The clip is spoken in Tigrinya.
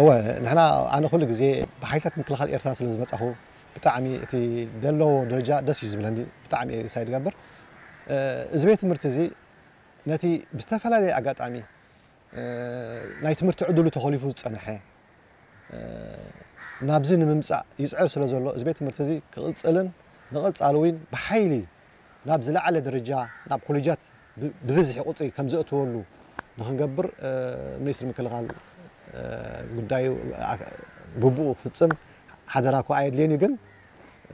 እወ፣ ንሕና፣ ኣነ ኩሉ ግዜ ብሓይልታት ምክልኻል ኤርትራ ስለ ዝመጻኹ፣ ብጣዕሚ እቲ ዘለዎ ደረጃ ደስ እዩ ዝብለኒ። ብጣዕሚ እየ ሳይ ዝገብር። እዚ ቤት ትምህርቲ እዚ ነቲ ብዝተፈላለየ ኣጋጣሚ ናይ ትምህርቲ ዕድሉ ተኾሊፉ ዝጸንሐ ናብዚ ንምምጻእ ይጽዕር ስለ ዘሎ፣ እዚ ቤት ትምህርቲ እዚ ክቕጽልን ንቐጻሊ እውን ብሓይሊ ናብ ዝለዓለ ደረጃ፣ ናብ ኮሌጃት ብ-፣ ብብዝሒ ቁጽሪ ከም ዘእትወሉ ንኽንገብር፣ እ፣ ሚኒስትሪ ምክልኻል፣ እ፣ ጉዳዩ ኣ-፣ ግቡኡ ክፍጽም ሓደራ እኳ ኣየድልየን እዩ። ግን